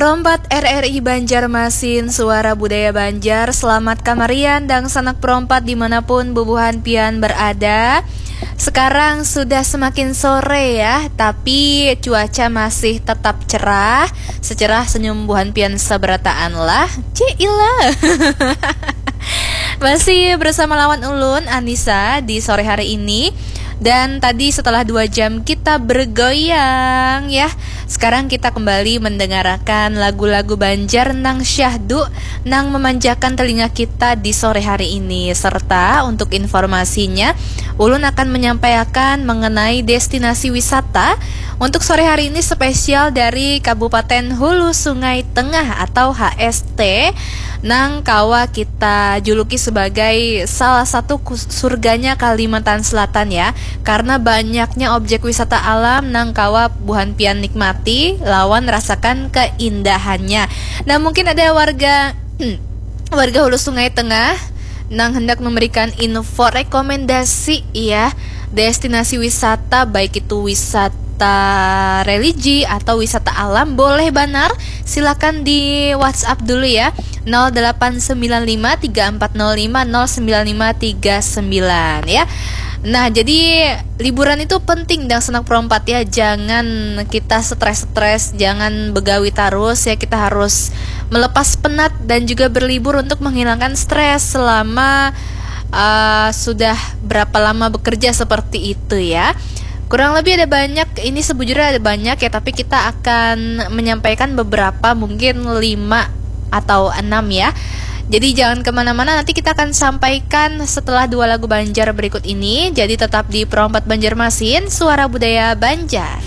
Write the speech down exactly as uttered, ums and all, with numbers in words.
Perompat R R I Banjarmasin, Suara Budaya Banjar. Selamat kamarian dangsanak perompat dimanapun bubuhan pian berada. Sekarang sudah semakin sore ya, tapi cuaca masih tetap cerah. Secerah senyum buhan pian sabarataan lah. Cilah. Masih bersama lawan ulun, Anissa, di sore hari ini. Dan tadi setelah dua jam kita bergoyang ya, sekarang kita kembali mendengarakan lagu-lagu Banjar nang syahdu, nang memanjakan telinga kita di sore hari ini. Serta untuk informasinya, ulun akan menyampaikan mengenai destinasi wisata untuk sore hari ini, spesial dari Kabupaten Hulu Sungai Tengah atau H S T, nang kawa kita juluki sebagai salah satu kus-, surganya Kalimantan Selatan ya, karena banyaknya objek wisata alam nang kawa buhan pian nikmati lawan rasakan keindahannya. Nah, mungkin ada warga warga Hulu Sungai Tengah nang hendak memberikan info rekomendasi ya, destinasi wisata, baik itu wisata religi atau wisata alam, boleh banar. Silakan di WhatsApp dulu ya, nol delapan sembilan lima tiga empat nol lima nol sembilan lima tiga sembilan ya. Nah, jadi liburan itu penting dangsanak perompat ya. Jangan kita stres-stres, jangan begawi terus ya. Kita harus melepas penat dan juga berlibur untuk menghilangkan stres selama uh, sudah berapa lama bekerja seperti itu ya. Kurang lebih ada banyak, ini sebujurnya ada banyak ya, tapi kita akan menyampaikan beberapa, mungkin lima atau enam ya. Jadi jangan kemana-mana, nanti kita akan sampaikan setelah dua lagu Banjar berikut ini. Jadi tetap di Perompat Banjarmasin, Suara Budaya Banjar.